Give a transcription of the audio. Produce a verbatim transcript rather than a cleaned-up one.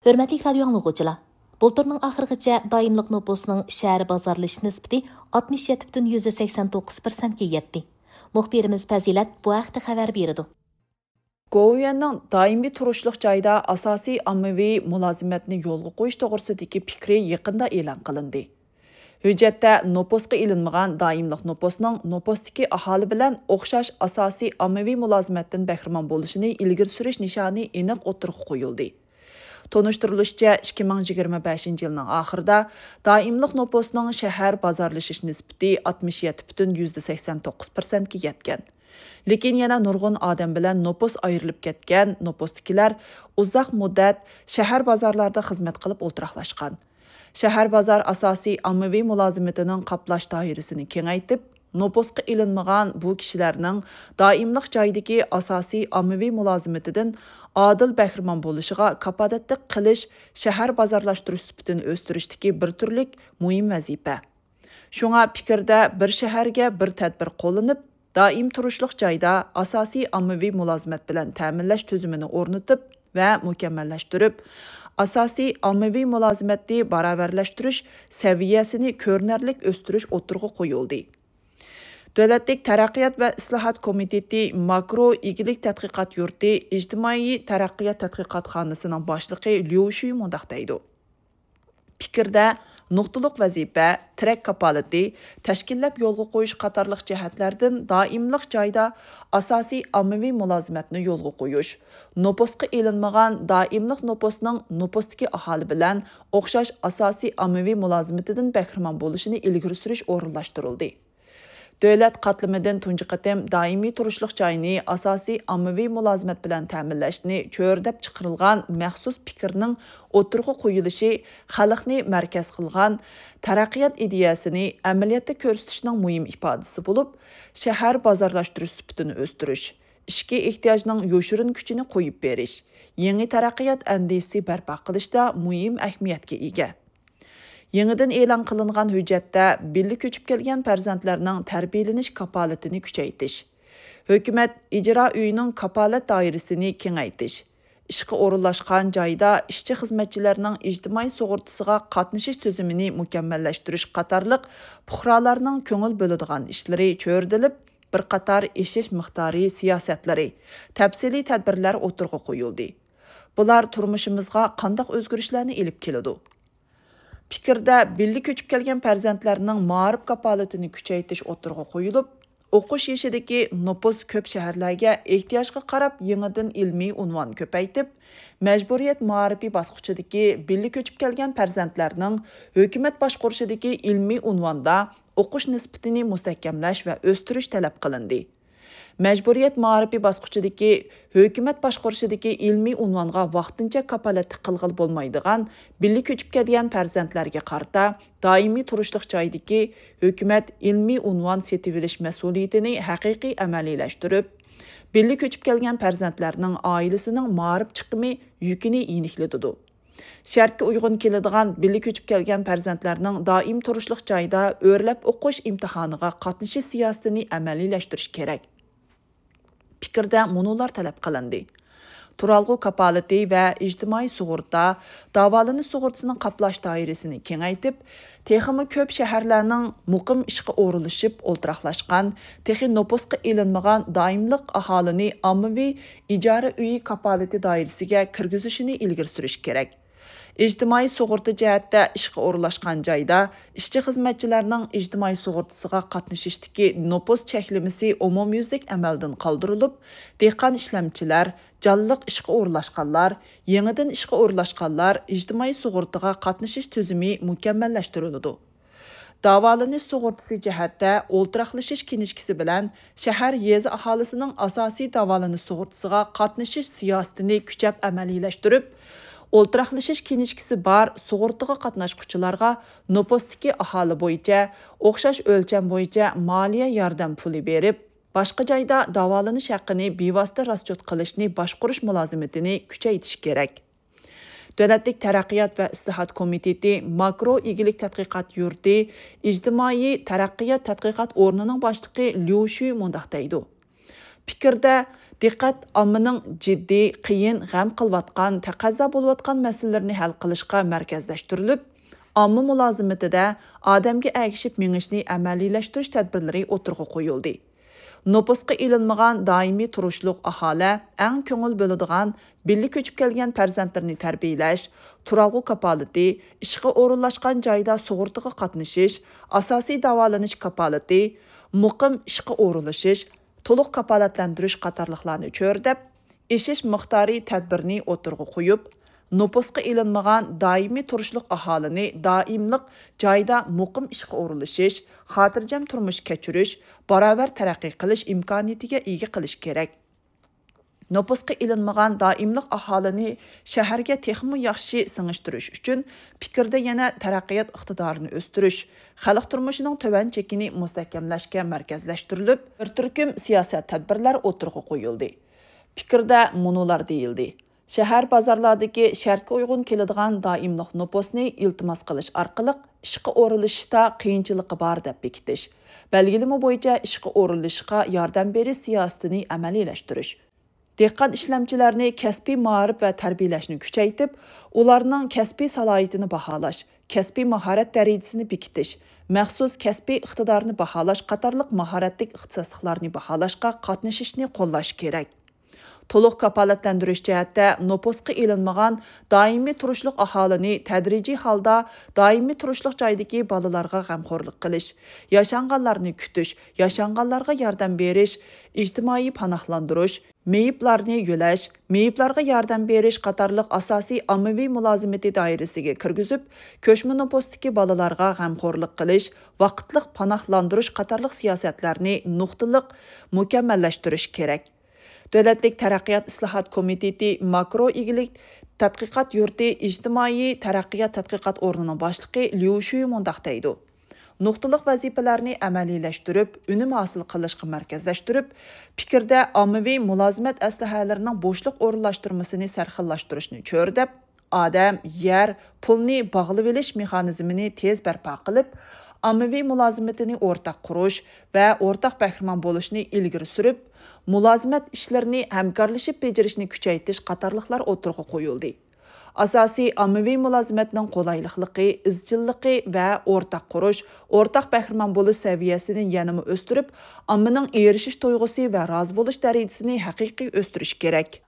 ھۆرمەتلىك رادىيو ئاڭلىغۇچىلار! بۇلتۇرنىڭ ئاخىرىغىچە دائىملىق نوپۇسنىڭ شەھەر بازارلىشىش نىسبىتى ئاتمىش يەتتە پۈتۈن يۈزدە سەكسەن توققۇز پىرسەنتكە يەتتى. مۇخبىرىمىز پەزىلەت بۇ ھەقتە خەۋەر بېرىدۇ. گوۋۇيۈەننىڭ دائىمىي تۇرۇشلۇق جايدا ئاساسىي ئاممىۋى مۇلازىمەتنى يولغا قويۇش توغرىسىدىكى پىكرى يېقىندا ئېلان قىلىندى. ھۆججەتتە نوپۇسقا ئېلىنمىغان دائىملىق نوپۇسنىڭ نوپۇستىكى ئاھالى بىلەن ئوخشاش ئاساسىي ئاممىۋى مۇلازىمەتتىن بەھرىمەن بولۇشىنى ئىلگىرى سۈرۈش نىشانى ئېنىق ئوتتۇرىغا قويۇلدى. تونۇشتۇرۇلۇشىچە، ئىككى مىڭ يىگىرمە بەشىنچى يىلنىڭ ئاخىرىدا دائىملىق نوپۇسنىڭ شەھەر بازارلىشىش نىسبىتى ئاتمىش يەتتە پۈتۈن يۈزدە سەكسەن توققۇز پىرسەنتكە يەتكەن. لېكىن يەنە نۇرغۇن ئادەم بىلەن نوپۇس ئايرىلىپ كەتكەن، نوپۇستىكىلەر ئۇزاق مۇددەت شەھەر بازارلاردا خىزمەت قىلىپ ئولتۇراقلاشقان. شەھەر بازار ئاساسىي ئاممىۋى مۇلازىمىتىنىڭ قاپلاش دائىرىسىنى كېڭەيتىپ، نوپۇسقا ئېلىنمىغان بۇ كىشىلەرنىڭ دائىملىق جايدىكى ئاساسىي ئاممىۋى مۇلازىمىتىدىن ئادىل بەھرىمەن بولۇشىغا كاپالەتلىك قىلىش شەھەر بازارلاشتۇرۇش سۈپىتىنى ئۆستۈرۈشتىكى بىر تۈرلۈك مۇھىم ۋەزىپە. شۇڭا پىكىردە بىر شەھەرگە بىر تەدبىر قوللىنىپ، دائىم تۇرۇشلۇق جايدا ئاساسىي ئاممىۋى مۇلازىمەت بىلەن تەمىنلەش تۈزۈمىنى ئورنىتىپ ۋە مۇكەممەللەشتۈرۈپ، ئاساسىي ئاممىۋى مۇلازىمەتنى باراۋەرلەشتۈرۈش سەۋىيەسىنى كۆرۈنەرلىك ئۆستۈرۈش ئوتتۇرىغا قويۇلدى. دۆلەتلىك تەرەققىيات ۋە ئىسلاھات كومىتېتى ماكرو ئىگىلىك تەتقىقات يۇرتى ئىجتىمائىي تەرەققىيات تەتقىقاتخانىسىنىڭ باشلىقى ليۇ شۈي مۇنداق دەيدۇ: پىكىردە نۇقتىلىق ۋەزىپە، تىرەك كاپالىتى، تەشكىللەپ يولغا قويۇش قاتارلىق جەھەتلەردىن دائىملىق جايدا ئاساسىي ئاممىۋى مۇلازىمەتنى يولغا قويۇش، نوپۇسقا ئېلىنمىغان دائىملىق نوپۇسنىڭ نوپۇستىكى ئاھالى بىلەن ئوخشاش ئاساسىي ئاممىۋى مۇلازىمىتىدىن بەھرىمەن بولۇشىنى ئىلگىرى سۈرۈش ئورۇنلاشتۇرۇلدى. دۆلەت قاتلىمىدىن تۇنجى قېتىم دائىمىي تۇرۇشلۇق جاينى ئاساسىي ئاممىۋى مۇلازىمەت بىلەن تەمىنلەشنى چۆرىدەپ چىقىرىلغان مەخسۇس پىكىرنىڭ ئوتتۇرىغا قويۇلۇشى خەلقنى مەركەز قىلغان تەرەققىيات ئىدىيەسىنى ئەمەلىيەتتە كۆرسىتىشنىڭ مۇھىم ئىپادىسى بولۇپ، شەھەر بازارلاشتۇرۇش سۈپىتىنى ئۆستۈرۈش، ئىچكى ئېھتىياجنىڭ يوشۇرۇن كۈچىنى قويۇپ بېرىش، يېڭى تەرەققىيات ئەندىزىسى بەرپا قىلىشتا مۇھىم ئەھمىيەتكە ئىگە. يېڭىدىن ئېلان قىلىنغان ھۆججەتتە بىللە كۆچۈپ كەلگەن پەرزەنتلەرنىڭ تەربىيەلىنىش كاپالىتىنى كۈچەيتىش، ھۆكۈمەت ئىجرا ئۆيىنىڭ كاپالەت دائىرىسىنى كېڭەيتىش، ئىشقا ئورۇنلاشقان جايدا ئىشچى-خىزمەتچىلەرنىڭ ئىجتىمائىي سۇغۇرتىسىغا قاتنىشىش تۈزۈمىنى مۇكەممەللەشتۈرۈش قاتارلىق پۇقرالارنىڭ كۆڭۈل بۆلىدىغان ئىشلىرى چۆرىدىلىپ، بىر قاتار ئېشىش مىقدارى سىياسەتلىرى، تەپسىلىي تەدبىرلەر ئوتتۇرىغا قويۇلدى. بۇلار تۇرمۇشىمىزغا قانداق ئۆزگىرىشلەرنى ئېلىپ كېلىدۇ؟ پىكىردە بىللە كۆچۈپ كەلگەن پەرزەنتلەرنىڭ مائارىپ كاپالىتىنى كۈچەيتىش ئوتتۇرىغا قويۇلۇپ، ئوقۇش يېشىدىكى نوپۇس كۆپ شەھەرلەرگە ئېھتىياجغا قاراپ يېڭىدىن ئىلمىي ئۇنۋان كۆپەيتىپ، مەجبۇرىيەت مائارىپى باسقۇچىدىكى بىللە كۆچۈپ كەلگەن پەرزەنتلەرنىڭ ھۆكۈمەت باشقۇرۇشىدىكى ئىلمىي ئۇنۋاندا ئوقۇش نىسبىتىنى مۇستەھكەملەش ۋە ئۆستۈرۈش تەلەپ قىلىندى. مەجبۇرىيەت مائارىپى باسقۇچىدىكى ھۆكۈمەت باشقۇرۇشىدىكى ئىلمىي ئۇنۋانغا ۋاقتىنچە كاپالەتلىك قىلغىلى بولمايدىغان بىللە كۆچۈپ كەلگەن پەرزەنتلەرگە قارىتا دائىمىي تۇرۇشلۇق جايدىكى ھۆكۈمەت ئىلمىي ئۇنۋان سېتىۋېلىش مەسئۇلىيىتىنى ھەقىقىي ئەمەلىيلەشتۈرۈپ، بىللە كۆچۈپ كەلگەن پەرزەنتلەرنىڭ ئائىلىسىنىڭ مائارىپ چىقىمى يۈكىنى يېنىكلىتىدۇ. شەرتكە ئۇيغۇن كېلىدىغان بىللە كۆچۈپ كەلگەن پەرزەنتلەرنىڭ دائىم تۇرۇشلۇق جايدا ئۆرلەپ ئوقۇش ئىمتىھانىغا قاتنىشىش سىياسىتىنى ئەمەلىيلەشتۈرۈش كېرەك. پىكىردە مۇنۇلار تەلەپ قىلىندى: تۇرالغۇ كاپالىتى ۋە ئىجتىمائىي سۇغۇرتا، داۋالىنىش سۇغۇرتىسىنىڭ قاپلاش دائىرىسىنى كېڭەيتىپ، تېخىمۇ كۆپ شەھەرلەرنىڭ مۇقىم ئىشقا ئورۇنلىشىپ ئولتۇراقلاشقان، تېخى نوپۇسقا ئېلىنمىغان دائىملىق ئاھالىنى ئاممىۋى ئىجارە ئۆيى كاپالىتى دائىرىسىگە كىرگۈزۈشىنى ئىلگىرى سۈرۈش كېرەك. ئىجتىمائىي سۇغۇرتا جەھەتتە ئىشقا ئورۇنلاشقان جايدا ئىشچى-خىزمەتچىلەرنىڭ ئىجتىمائىي سۇغۇرتىسىغا قاتنىشىشتىكى نوپۇس چەكلىمىسى ئومۇميۈزلۈك ئەمەلدىن قالدۇرۇلۇپ، دېھقان ئىشلەمچىلەر، جانلىق ئىشقا ئورۇنلاشقانلار، يېڭىدىن ئىشقا ئورۇنلاشقانلار ئىجتىمائىي سۇغۇرتىغا قاتنىشىش تۈزۈمى مۇكەممەللەشتۈرۈلىدۇ. داۋالىنىش سۇغۇرتىسى جەھەتتە ئولتۇراقلىشىش كىنىشكىسى بىلەن شەھەر، يېزا ئاھالىسىنىڭ ئاساسىي داۋالىنىش سۇغۇرتىسىغا قاتنىشىش سىياسىتىنى كۈچەپ ئەمەلىيلەشتۈرۈپ، ئولتۇراقلىشىش كىنىشكىسى بار سۇغۇرتىغا قاتناشقۇچىلارغا نوپۇستىكى ئاھالە بويىچە ئوخشاش ئۆلچەم بويىچە مالىيە ياردەم پۇلى بېرىپ، باشقا جايدا داۋالىنىش ھەققىنى بىۋاسىتە راسچوت قىلىشنى باشقۇرۇش مۇلازىمىتىنى كۈچەيتىش كېرەك. دۆلەتلىك تەرەققىيات ۋە ئىسلاھات كومىتېتى ماكرو ئىگىلىك تەتقىقات يۇرتى ئىجتىمائىي تەرەققىيات تەتقىقات ئورنىنىڭ باشلىقى ليۇ شۈي مۇنداق دەيدۇ: پىكىردە، دىققەت ئاممىنىڭ جىددىي، قىيىن، غەم قىلىۋاتقان، تەقەززا بولۇۋاتقان مەسىلىلىرىنى ھەل قىلىشقا مەركەزلەشتۈرۈلۈپ، ئامما مۇلازىمىتىدە ئادەمگە ئەگىشىپ مېڭىشنى ئەمەلىيلەشتۈرۈش تەدبىرلىرى ئوتتۇرىغا قويۇلدى. نوپۇسقا ئېلىنمىغان دائىمىي تۇرۇشلۇق ئاھالە ئەڭ كۆڭۈل بۆلىدىغان، بىللە كۆچۈپ كەلگەن پەرزەنتلىرىنى تەربىيەلەش، تۇرالغۇ كاپالىتى، ئىشقا ئورۇنلاشقان جايدا سۇغۇرتىغا قاتنىشىش، ئاساسىي داۋالىنىش كاپالىتى، مۇقىم ئىشقا ئورۇنلىشىش، تولۇق كاپالەتلەندۈرۈش قاتارلىقلارنى چۆرىدەپ، ئېشىش مىقدارى تەدبىرىنى ئوتتۇرىغا قويۇپ، نوپۇسقا ئېلىنمىغان دائىمىي تۇرۇشلۇق ئاھالىنى دائىملىق جايدا مۇقىم ئىشقا ئورۇنلىشىش، خاتىرجەم تۇرمۇش كەچۈرۈش، باراۋەر تەرەققىي قىلىش ئىمكانىيىتىگە ئىگە قىلىش كېرەك. نوپۇسقا ئېلىنمىغان دائىملىق ئاھالىنى شەھەرگە تېخىمۇ ياخشى سىڭىشتۈرۈش ئۈچۈن پىكىردە يەنە تەرەققىيات ئىقتىدارىنى ئۆستۈرۈش، خەلق تۇرمۇشىنىڭ تۆۋەن چېكىنى مۇستەھكەملەشكە مەركەزلەشتۈرۈلۈپ، بىر تۈركۈم سىياسەت تەدبىرلەر ئوتتۇرىغا قويۇلدى. پىكىردە مۇنۇلار دېيىلدى: شەھەر بازارلاردىكى شەرتكە ئۇيغۇن كېلىدىغان دائىملىق نوپۇسنى ئىلتىماس قىلىش ئارقىلىق ئىشقا ئورۇنلىشىشتا قىيىنچىلىقى بار دەپ بېكىتىش، بەلگىلىمە بويىچە ئىشقا ئورۇنلىشىشقا ياردەم بېرىش سىياسىتىنى ئەمەلىيلەشتۈرۈش، دېھقان ئىشلەمچىلەرنى كەسپىي مائارىپ ۋە تەربىيەلەشنى كۈچەيتىپ، ئۇلارنىڭ كەسپىي سالاھىيىتىنى باھالاش، كەسپىي ماھارەت دەرىجىسىنى بېكىتىش، مەخسۇس كەسپىي ئىقتىدارنى باھالاش قاتارلىق ماھارەتلىك ئىختىساسلىقلارنى باھالاشقا قاتنىشىشنى قوللاش كېرەك. تولۇق كاپالەتلەندۈرۈش جەھەتتە نوپۇسقا ئېلىنمىغان دائىمىي تۇرۇشلۇق ئاھالىنى تەدرىجىي ھالدا دائىمىي تۇرۇشلۇق جايدىكى بالىلارغا غەمخورلۇق قىلىش، ياشانغانلارنى كۈتۈش، ياشانغانلارغا ياردەم بېرىش، ئىجتىمائىي پاناھلاندۇرۇش، مېيىپلارنى يۆلەش، مېيىپلارغا ياردەم بېرىش قاتارلىق ئاساسىي ئاممىۋى مۇلازىمىتى دائىرىسىگە كىرگۈزۈپ، كۆچمە نوپۇستىكى بالىلارغا غەمخورلۇق قىلىش، ۋاقىتلىق پاناھلاندۇرۇش قاتارلىق سىياسەتلەرنى نۇقتىلىق مۇكەممەللەشتۈرۈش كېرەك. دۆلەتلىك تەرەققىيات ئىسلاھات كومىتېتى ماكرو ئىگىلىك تەتقىقات يۇرتى ئىجتىمائىي تەرەققىيات تەتقىقات ئورنىنىڭ باشلىقى ليۇ شۈي مۇنداق دەيدۇ: نۇقتىلىق ۋەزىپىلەرنى ئەمەلىيلەشتۈرۈپ، ئۈنۈم ھاسىل قىلىشقا مەركەزلەشتۈرۈپ، پىكىردە ئاممىۋى مۇلازىمەت ئەسلىھەلىرىنىڭ بوشلۇق ئورۇنلاشتۇرمىسىنى سەرخىللاشتۇرۇشنى چۆرىدەپ، ئادەم، يەر، پۇلنى باغلىۋېلىش مېخانىزمىنى تېز بەرپا قىلىپ، ئاممىۋى مۇلازىمىتىنى ئورتاق قۇرۇش ۋە ئورتاق بەھرىمەن بولۇشنى ئىلگىرى سۈرۈپ، مۇلازىمەت ئىشلىرىنى ھەمكارلىشىپ بېجىرىشنى كۈچەيتىش قاتارلىقلار ئوتتۇرىغا قويۇلدى. ئاساسىي ئاممىۋى مۇلازىمەتنىڭ قولايلىقلىقى، ئىزچىللىقى ۋە ئورتاق قۇرۇش، ئورتاق بەھرىمەن بولۇش سەۋىيەسىنى يەنىمۇ ئۆستۈرۈپ، ئاممىنىڭ ئېرىشىش تۇيغۇسى ۋە رازى بولۇش دەرىجىسىنى ھەقىقىي ئۆستۈرۈش كېرەك.